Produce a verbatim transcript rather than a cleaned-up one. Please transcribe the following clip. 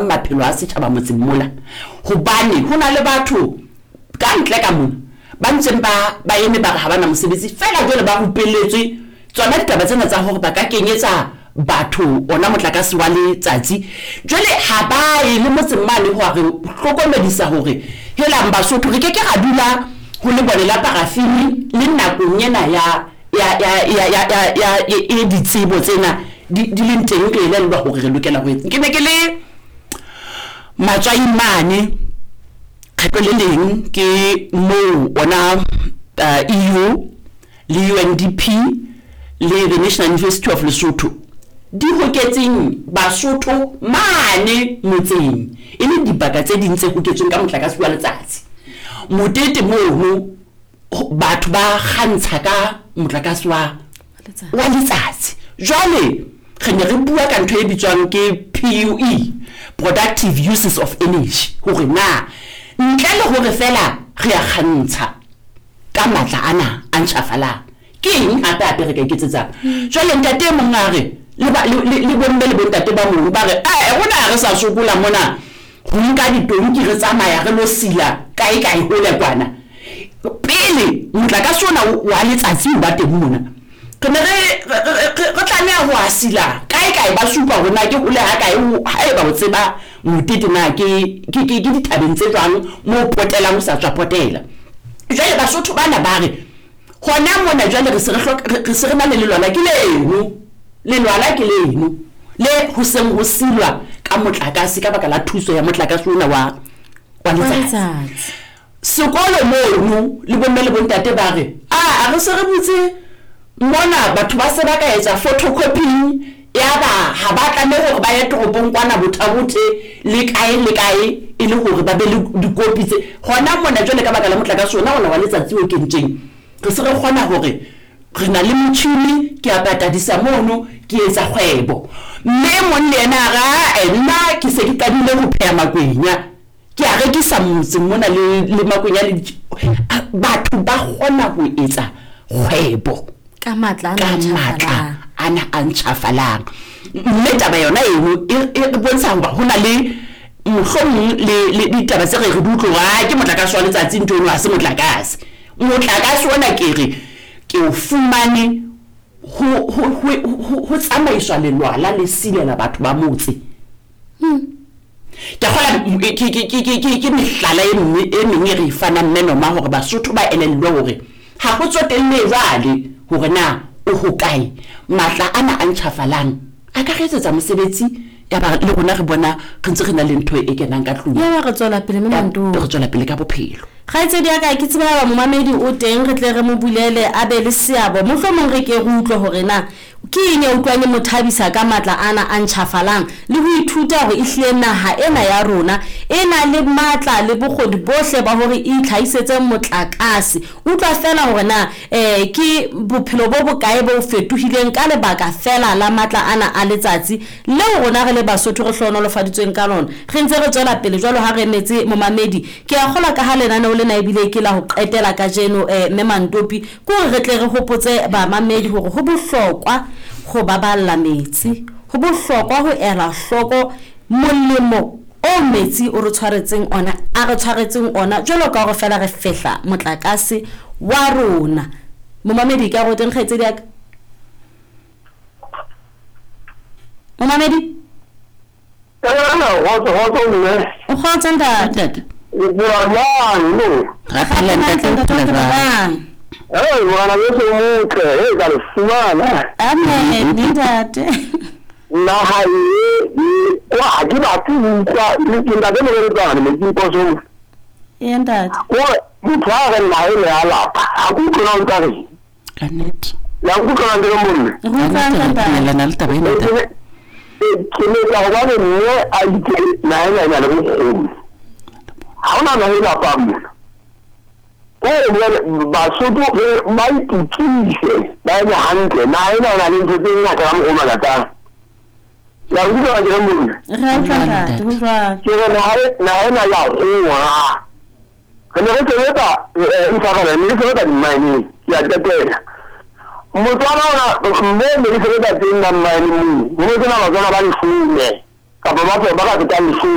Maphelo a setjhaba motseng mola, hobane ho na le batho ka ntle ka mona ba ntseng ba ba eme ba re ha ba na mosebetsi feela. Jwale ba rupelletswe tsona ditaba tsena tsa hore ba ka kenyetsa batho ona motlakase wa letsatsi. Jwale ha ba ye le motseng mane ho re hlokomedisa hore helang Basotho, re ke ke ra dula ho lebone la parafini le nakong ena ya ya ya ya ya ya ya e ditsebo tsena di di leng teng, re elellwa hore re lokela ho etsa. Ke ne ke le Matswai mane kgetlo le leng, ke moo ona uh, E U le U N D P le the National University of Lesotho di hoketseng Basotho mane motseng, e leng dibaka tse ding tse hoketsweng ka motlakase wa letsatsi. Motete mono batho ba kgantsha ka motlakase wa wa letsatsi. Jwale re ne re bua ka ntho e bitswang ke P U E, productive uses of energy, hore na ntle le hore fela re a kgantsha ka matla ana a ntjhafalang, ke eng hape hape re ka iketsetsang? Jwale ntate e mong a re le ba- le- le le bomme le bontate ba mong ba re ee, rona ha re sa sokola mona ho nka ditonki re tsamaya re lo sila kae kae hole kwana. Pele motlakase ona wa letsatsi o ba teng mona, re ne re re- re re- re tlameha ho a sila kae kae. Ba supa hore na ke hole ha kae, o- haeba o tseba Motete na ke ke ke ke dithabeng tse jwang mo potelang, o sa tswa potela. Jwale Basotho bana ba re hona mona jwale re se re hloka, re re se re na le lelwala ke leno, lelwala ke leno le ho seng ho silwa ka motlakase ka baka la thuso ya motlakase ona wa wa letsatsi. Letsatsi. Sekolo mono le bomme le bontate ba re a a re se re butse mona, batho ba se ba ka etsa photocopying, ya ba ha ba tlameha hore ba ye toropong kwana Botha-Bothe le kae le kae e le hore ba be le dikopi tse hona mona. Jwale ka baka la motlakase ona ona wa letsatsi o kentsweng, re se re kgona hore re na le motjhini, ke a patadisa mono, ke etsa kgwebo. Mme e mong le yena a re, "Ae, nna ke se ke qadile ho pheha makwenya, ke a rekisa motseng mona le le makwenya le di-" A- batho ba kgona ho etsa kgwebo ka matla ka ana a matla ntjhafalang. Ana a ntjhafalang. Mme taba yona eno e e bontsha hoba ho na le mohlomong le le ditaba tse re re di utlwe hore ah, ke motlakase wa letsatsi, ntho eno ha se motlakase. Motlakase ona ke re ke o fumane ho ho ho ho- ho tsamaiswa lelwala le silela batho ba motse. Ke kgola ke ke ke ke ke ke mehlala e mme e meng e re e fanang, mme noma hore Basotho ba elellwe hore ha ho tsotelle jwale hore na o hokae, matla ana a ntjhafalang a ka re etsetsa mosebetsi, ya ba le rona re bona re ntse re na le ntho e kenang ka tlung. Ya ba re tswela pele mme Ya, Manto. re tswela pele ka bophelo. Kgaitsedi ya ka, ke tseba ba momamedi o teng, re tle re mo bulele a be le seabo. Mohlomong re ke re utlwe hore na ke eng e utlwang e mo thabisa ka matla ana a ntjhafalang, le ho ithuta hore ehlile naha ena ya rona e na le matla le bokgoni bohle ba hore e itlhahisetse motlakase. Utlwa fela hore na um ke bophelo bo bokae bo fetohileng ka lebaka fela la matla ana a letsatsi leo rona re le Basotho re hlohonolofaditsweng ka lona. Re ntse re tswela pele jwalo ha re emetse momamedi. Ke a kgolwa ka ha lenaneo lena ebile ke la ho qetela kajeno, um mme Mantopi, ke hore re tle re hopotse bamamedi hore ho bohlokwa ho baballa metsi, ho bohlokwa ho ela hloko molemo o metsi o re tshwaretseng ona, a re tshwaretseng ona, jwalo ka hore fela re fehla motlakase wa rona. Momamedi ka go teng, kgaitsedi ya ka, momamedi. Kgotso, kgotso mme. O kgotso, ntate. Ntate. O bua jwang no? Ra phela, ntate, o phela jwang? Hey, ngwana beso o motle, hey, ka le fumana. Amen, ntate. Naha e e kwa ha ke batle ho utlwa le ke ntate Mokeletsane metsing posong. Ee, ntate. Kore motho a re naha ene ya lapa, ha ke utlwe na o ntsa reng. Ka nnete. Ya nkutlwa na ntate Molle? Re Ka utlwa nnete, re ntate. dumellana le taba ena, ntate. Ke letsa hobane mme a itse naha ena e na le bokgoni. Ha hona naha e lapang mona. Kore jwale Basotho re ba itukise, ba eme hantle. Naha ena e na le ntho tse ngata ka mokgwa o makatsang. Ya nkutlwa na ntate Molle? Re utlwa, ntate, ho jwalo. Ke re naha e- naha ena ya howa. Re ne re sebetsa eh, intshwarele, ne re sebetsa di-mine-eng, ke a qetela. Motswana ona mme ne re sebetsa teng na mine moo, ho ne sena Batswana ba leshome kapa ba ba ka fetang leshome.